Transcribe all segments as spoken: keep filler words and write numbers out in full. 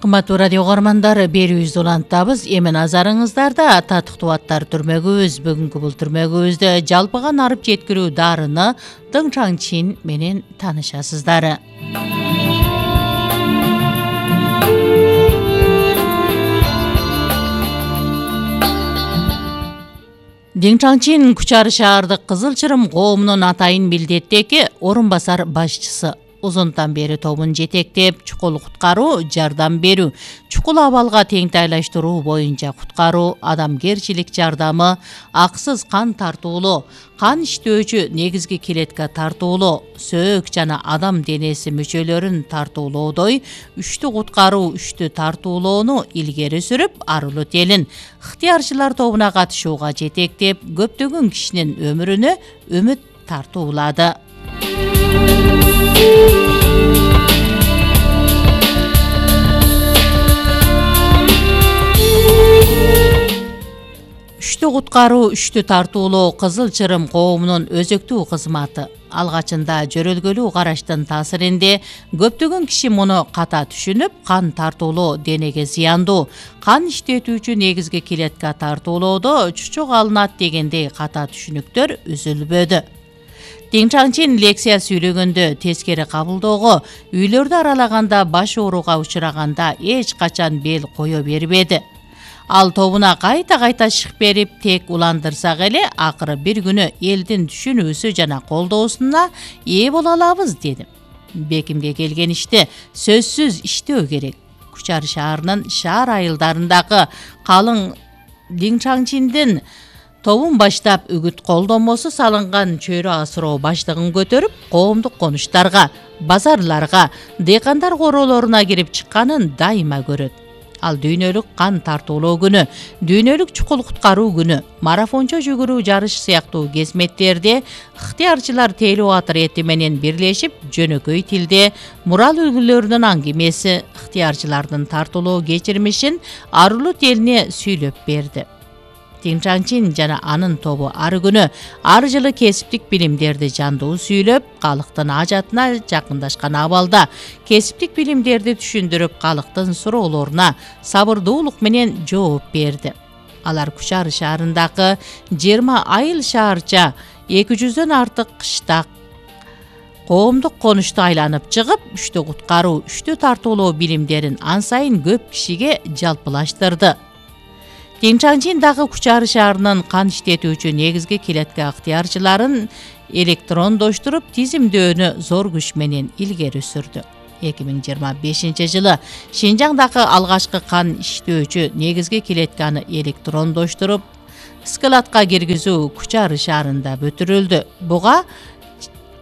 Кымбаттуу радио угармандар, берүүбүздү улантабыз. Эми назарыңыздарда татыктуу аттар түрмөгүбүз. Бүгүнкү бул түрмөгүбүздө жалпыга нарып жеткирүү дарыны Дың Чаңчин менен таанышасыздар. Дың Чаңчин Кучар шаардык Кызыл Чырым коомунун атайын милдеттеги орун басар башчысы. Узунтан бери тобун жетектеп, чукул куткаруу, жардам берүү, чукул абалга теңтайлаштыруу боюнча куткаруу, адамгерчилик жардамы, аксыз кан тартуулоо, кан иштөөчү негизги клетка тартуулоо, сөөк жана адам денеси мүчөлөрүн тартуулоодой үчтү куткаруу, үчтү тартуулоону илгери сүрүп, Арулут элин ыктыярчылар тобуна катышууга жетектеп, көптөгөн кишинин өмүрүнө үмүт тартуулады. Үчтү куткаруу, үчтү тартуулоо Кызыл Чырым коомунун өзөктүү кызматы. Алгачында жөрөлгөлүү караштын таасиринде көптөгөн киши муну ката түшүнүп, кан тартуулоо денеге зыяндуу, кан иштетүүчү негизги клетка тартуулоодо чучук алынат дегендей ката түшүнүктөр үзүлбөдү. Дың Чаңчин лекция сүйлөгөндө, тескери кабылдоого, үйлөрдү аралаганда, баш ооруга учураганда эч качан бел кое бербеди. Ал тобуна кайта-кайта шык берип, тек уландырсак эле, акыры бир күнү элдин түшүнүүсү жана колдоосуна ээ боло алабыз деди. Бекимге келген ишти сөзсүз иштөө керек. Кучар шаарынын шаар айылдарындагы калың Дың Чаңчиндин тобун баштап үгүт колдомосу салынган чөйрө асыроо баштыгын көтөрүп, коомдук конуштарга, базарларга, дыйкандар короолоруна кирип чыкканын дайыма көрөт. Ал дүйнөлүк кан тартуулоо күнү, дүйнөлүк чукул куткаруу күнү, марафончо жүгүрүү жарыш сыяктуу кезметтерде ыктыярчылар телеатр эти менен бирлешип, жөнөкөй тилде мурал үлгүлөрүнүн аңгемеси, ыктыярчылардын тартуулоо кечирмишин Арулут элине сүйлөп берди. Дың Чаңчин жана анын тобу ар күнү, ар жылы кесиптик билимдерди жандуу сүйлөп, калктын ажатына жакындашкан абалда кесиптик билимдерди түшүндүрүп, калктын суроолоруна сабырдуулук менен жооп берди. Алар Кучар шаарындагы жыйырма айыл шаарча, эки жүздөн артык кыштак, коомдук конушту айланып чыгып, үчтү куткаруу, үчтү тартуулоо билимдерин ан сайын көп кишиге жалпылаштырды. Дың Чаңчин дагы Кучар шаарынын кан иштетүүчү негизги клетка ыктыярчыларын электрондоштуруп, тизимдөөнү зор күч менен илгери сүрдү. эки миң жыйырма бешинчи жылы Шинжаңдагы алгачкы кан иштөөчү негизги клетканы электрондоштуруп, складка киргизүү Кучар шаарында бүтүрүлдү. Буга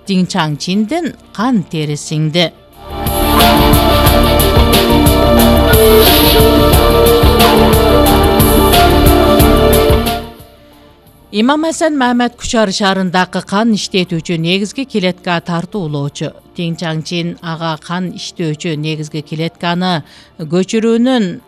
Дың Чаңчиндин кан тери сиңди. Имам Асан Мамед Кучар шаарындагы кан иштетүүчү негизги клетка тартуулоочу. Дың Чаңчин ага кан иштөөчү негизги клетканы көчүрүүнүн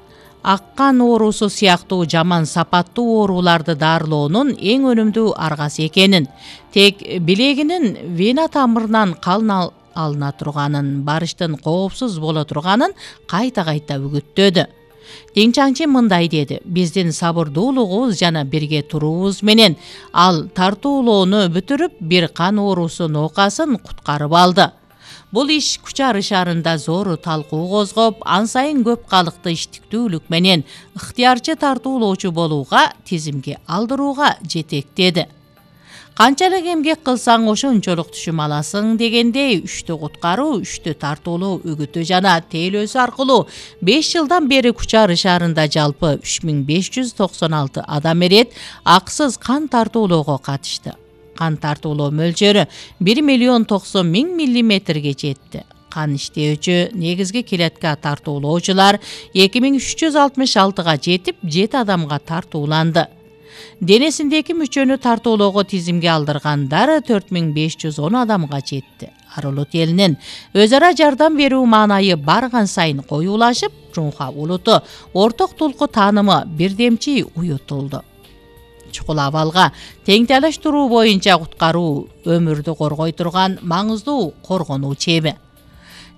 аккан оорусу сыяктуу жаман сапаттуу ооруларды дарылоонун эң өнүмдүү аргасы экенин, тек билегинин вена тамырынан кан алына турганын, барыштын коопсуз боло турганын кайта-кайта үгүттөдү. Дың Чаңчин мындай деди: биздин сабырдуулугубуз жана бирге туруубуз менен ал тартуулоону бүтүрүп, бир кан оорусу ноокасын куткарып алды. Бул иш Кучар шаарында зор талкуу козгоп, ан сайын көп калкты иштиктүүлүк менен ыктыярчы тартуулоочу болууга, тизимге алдырууга жетектеди. Канчалык эмгек кылсаң ошончолук түшүм аласың дегендей, үчтү куткаруу, үчтү тартуулоо үгүтү жана тейлөөсү аркылуу беш жылдан бери Кучар шаарында жалпы үч миң беш жүз токсон алты адам эрет аксыз кан тартуулоого катышты. Кан тартуулоо мөлчөрү бир миллион токсон миң миллиметрге жетти. Кан иштөөчү негизги клетка тартуулоочулар эки миң үч жүз алтымыш алтыга жетип, жети адамга тартууланды. Денесиндеги мүчөнү тартуулоого тизимге алдыргандар төрт миң беш жүз он адамга жетти. Арулут элинин өз ара жардам берүү маанайы барган сайын коюулашып, Жунха улуту орток тулку таанымы бирдемчи уютулду. Чукул абалга теңтайлаштыруу боюнча куткаруу өмүрдү коргой турган маңыздуу коргонуу чеби.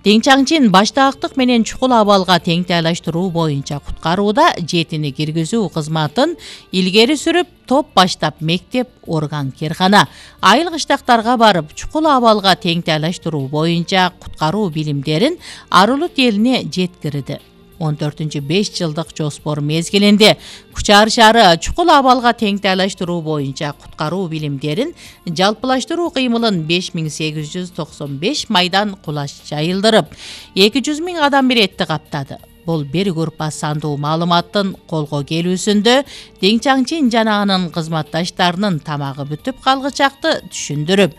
Тең Чаңчин баштаактык менен чукул абалга теңтайлаштыруу боюнча куткарууда жетини киргизүү кызматын илгери сүрүп, топ баштап мектеп, орган, киркана, айыл кыштактарга барып, чукул абалга теңтайлаштыруу боюнча куткаруу билимдерин Арулут элине жеткирди. он төртүнчү беш жылдык жоспор мезгилинде Кучар шаары чукул абалга теңтайлаштыруу боюнча куткаруу билимдерин жалпылаштыруу кыймылын беш миң сегиз жүз токсон беш майдан кулаш жайылдырып, эки жүз миң адам биретти каптады. Бул бир группа сандуу маалыматтын колго келүүсүндө Тең Чаңчин жана анын кызматташтарынын тамагы бүтүп калгычакты түшүндүрүп,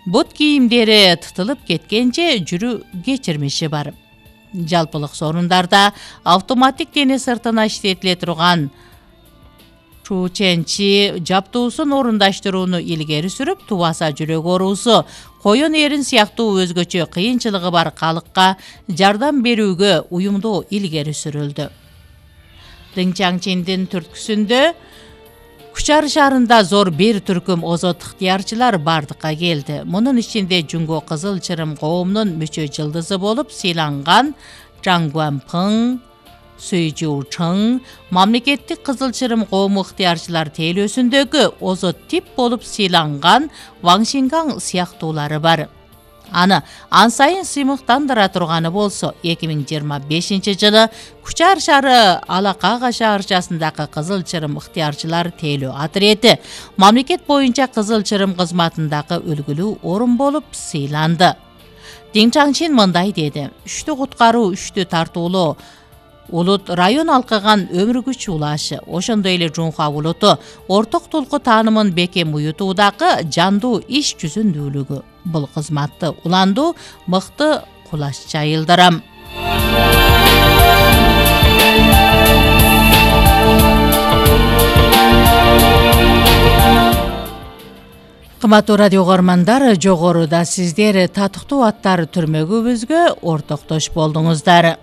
бут кийимдери тытылып кеткенче жүрүү кечирмиши бар. Жалпылык сорундарда автоматтик дене сыртына иштетиле турган чученчи жаптуусун орундаштырууну илгери сүрүп, тубаса жүрөк оорусу, коен эрин сыяктуу өзгөчө кыйынчылыгы бар калыкка жардам берүүгө уюмдуу илгери сүрүлдү. Тең Чаңчиндин түрткүсүндө Кучар шаарында зор бир түркүм озот ыктыярчылар бардыкка келди. Мунун ичинде Жунго Кызыл Чырым коомунун мүчө жылдызы болуп сыйланган Жан Гуанпың, Суй Жу Чың, мамлекеттик Кызыл Чырым коому ыктыярчылар тейлөөсүндөгү озот тип болуп сыйланган Ваң Шингаң сыяктуулары бар. Аны ан сайын сыймыктандыра турганы болсо, эки миң жыйырма бешинчи жылы Кучар шаары Алакага шаарчасындагы Кызыл Чырым ыктыярчылар тейлөө отрети мамлекет боюнча Кызыл Чырым кызматындагы үлгүлүү орун болуп сыйланды. Тең Чаңчин мындай деди: үчтү куткаруу, үчтү тартуулоо улут район алкаган өмүр күч улашы, ошондой эле Жунха улуту орток тулку таанымын бекем уютуудагы жандуу иш жүзүндүүлүгү. Бул кызматты уландуу мыкты кулаш жайылдырам. Кымбаттуу радио угармандар, жогоруда сиздер татыктуу аттар түрмөгүбүзгө ортоктош болдуңуздар.